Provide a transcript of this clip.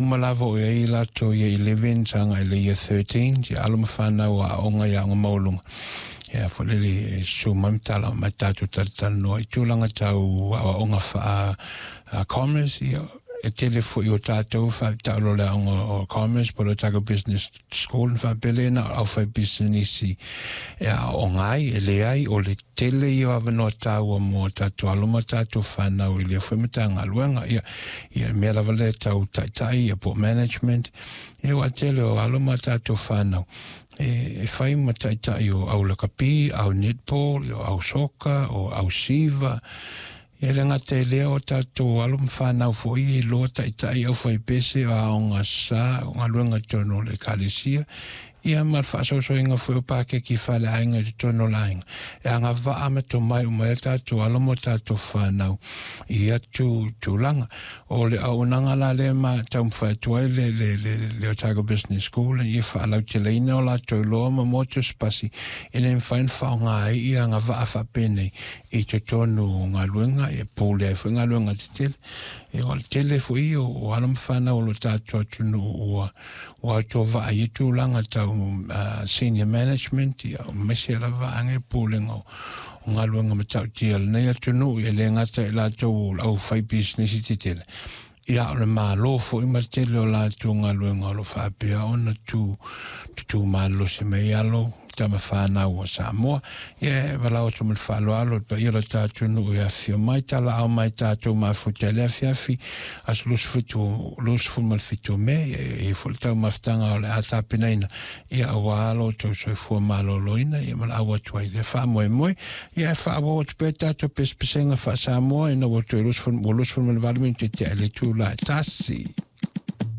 Uma lava o i ai latou Year 11 agai i le Year 13, ia alo ma fanau a aoga i aoga maualuga. Ia foi lele e susu mai ma tala mai tatou talatalanoa i tulaga tau aoaoga faa commerce, ia e tele foi o tatou faataolo o le aoga o commerce po o le Otago Business School na faapea lea na o le aufaipisinisi e aooga ai, e leai, o le tele ia o avanoa taua mo tatou alo ma tatou fanau i lea foi Matagaluega. Ia, ia mea lava lea tau taitai ia po o management, ia ua tele o alo ma tatou fanau e fai ma taitai o au lakapi, au netball, o au soka, o au siva. E le gata i lea, o tatou alo ma fanau foi e iloa taitai aufaipese o aoga sa, o galuega i totonu o le Ekalesia, ia ma le faasoasoaina foi o pakeki faaleaiga i totonu o le aiga. E agavaa ma tomai uma ai a tatou alo ma tatou fanau i ia tulaga. O le auaunaga la lea ma taumafai atu ai le, le, le, le Otago Business School ia faalauteleina o latou iloa ma moa tusipasi e le mafai ona faaaoga ai ia agavaa faapenei i totonu o galuega e pule ai foi galuega tetele. E o le tele foi o alo ma fanau o lo tatou atunuu ua ua autovaa i tulaga tau senior management, ia aemaise lava vaega e pulega o galuega matautia o lenei atunuu, e le gata i latou o le aufaipisinisi tetele, ia o le Malo foi ma le tele o latou galuega o lo o faapea ona tu tutu malolosi mai alo tama fanau a Samoa. Ia e valaau atu ma le faaaloalo i le paia o le tatou atunuu e afifio mai, talaau mai tatou mafuta i le afiafi aso 27 27 o Me, ia e i ai foi le taumafataga o le a tapenaina, ia aua lo outou soifua maloloina, ia ma le au atu ai i lea faamoemoe. Ia e faaauau atu pea tatou pesepesega faa-Samoa ina ua toe 28 minute tea i le itula e 1.